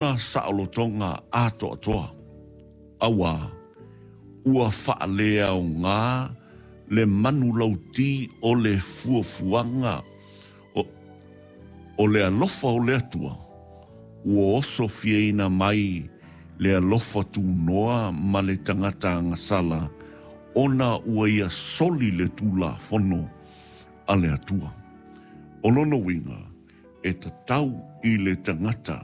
Saolotoga atoatoa, auā ua faaleaoga le manulauti o le fuafuaga o le alofa o le Atua, ua osofiaina mai le alofa tunoa ma le tagata agasala, ona ua ia soli le Tulafono a le Atua. O lona uiga, e tatau i le tagata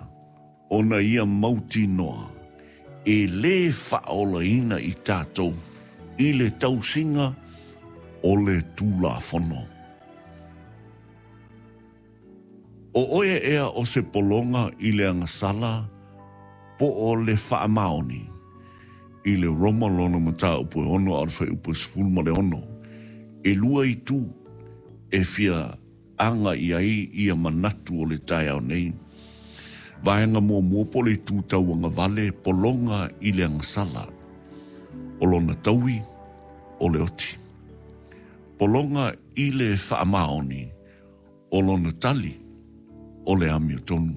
ona ia mautinoa e lē faaolaina i tatou i le tausiga o le Tulafono. O oe ea o se pologa i le agasala po o le faamaoni? I le Roma lona mataupu e 6 a o le fuaiupu e 16, e lua itu e fia aga i ai ia manatu o le taeao nei. Vaega muamua po o le itu tauagavale, pologa i le agasala. O lona taui, o le oti. Pologa i le faamaoni, o lona tali, o le amiotonu.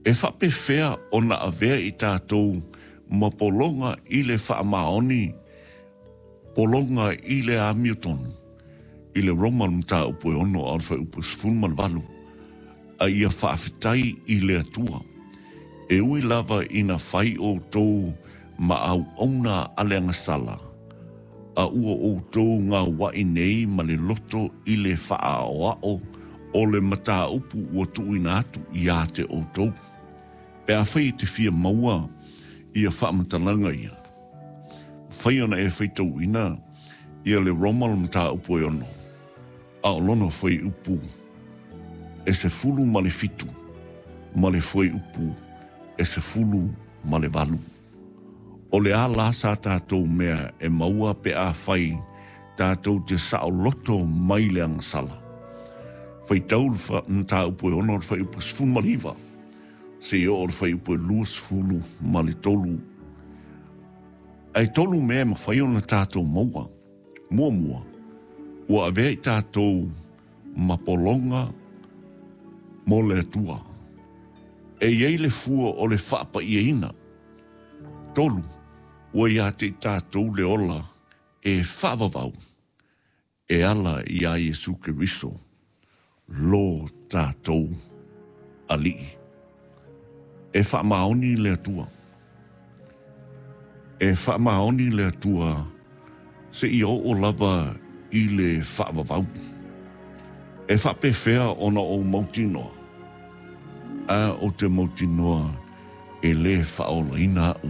E faapefea ona avea i tatou ma pologa i le faamaoni, pologa i le amiotonu? I le Roma le mataupu e 6 a o le fuaiupu e 18, a ia faafetai i le Atua, e ui lava ina fai outou ma auauna a le agasala, a ua outou gaua'i nei ma le loto i le faaʻaoaʻo o le mataupu ua tuuina atu iā te outou. Pe afai e te fia maua ia faamatalaga ia, mafai ona e faitauina ia le Roma le mataupu e 6, a o lona fuaiupu e 17 ma le fuaiupu e 18. O le a la sa tatou mea e maua pe afai tatou te saoloto mai le agasala? Faitau le mataupu e 6 o le fuaiupu 19 seia oo i le fuaiupu e 23. Ae tolu mea e mafai ona tatou maua. Muamua, ua avea i tatou ma pologa mo le Atua. E i ai le fua o le faapaiaina. Tolu, ua ia te i tatou le ola e faavavau e ala iā Iesu Keriso, lo tatou Alii. E faamaoni le Atua. E faamaoni le Atua seia oo lava i le faavavau. E faapefea ona ou mautinoa? A ou te mautinoa e lē faaolaina a'u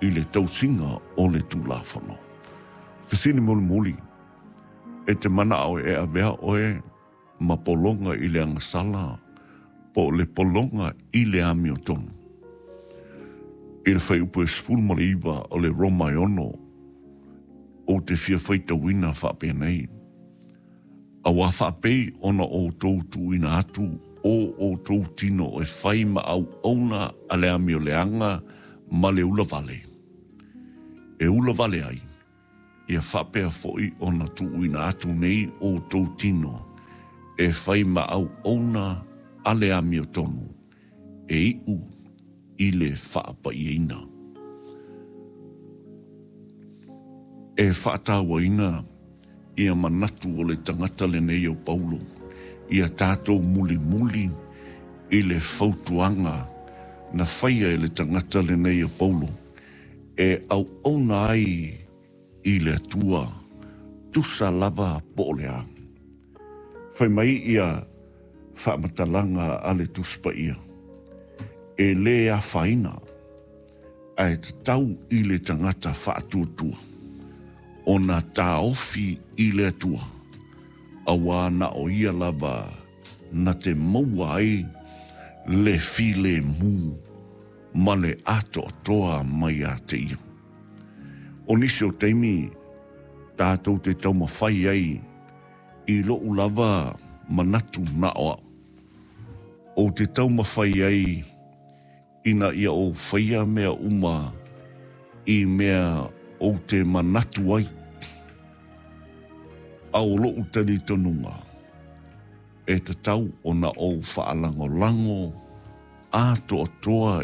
i le tausiga o le Tulafono. Fesili mulimuli, E te manaʻo e avea oe ma pologa i le agasala po o le pologa i le amiotonu? I le fuaiupu e 19 o le Roma e 6, ou te fia faitauina faapenei, Auā faapei ona outou tuuina atu o outou tino e fai ma auauna a le amioleaga ma le ulavale, e ulavale ai, ia faapea foi ona tuuina atu nei outou tino e fai ma auauna a le amiotonu e iʻu i le faapaiaina. E faatauaina ia manatu o le tagata lenei o Paulo ia tatou mulimuli i le fautuaga na faia e le tagata lenei o Paulo e auauna ai i le Atua, tusa lava po o le a. Fai mai ia faamatalaga a le Tusi Paia, e lē afaina, ae tatau i le tagata faatuatua ona taofi i le Atua, auā na o ia lava na te maua ai le filemu ma le atoatoa mai ia te ia. O nisi o taimi tatou te taumafai ai i loʻu lava manatu na o aʻu, ou te taumafai ai ina ia ou faia mea uma i mea ou te manatu ai. A o loʻu talitonuga, e tatau ona ou faalagolago atoatoa.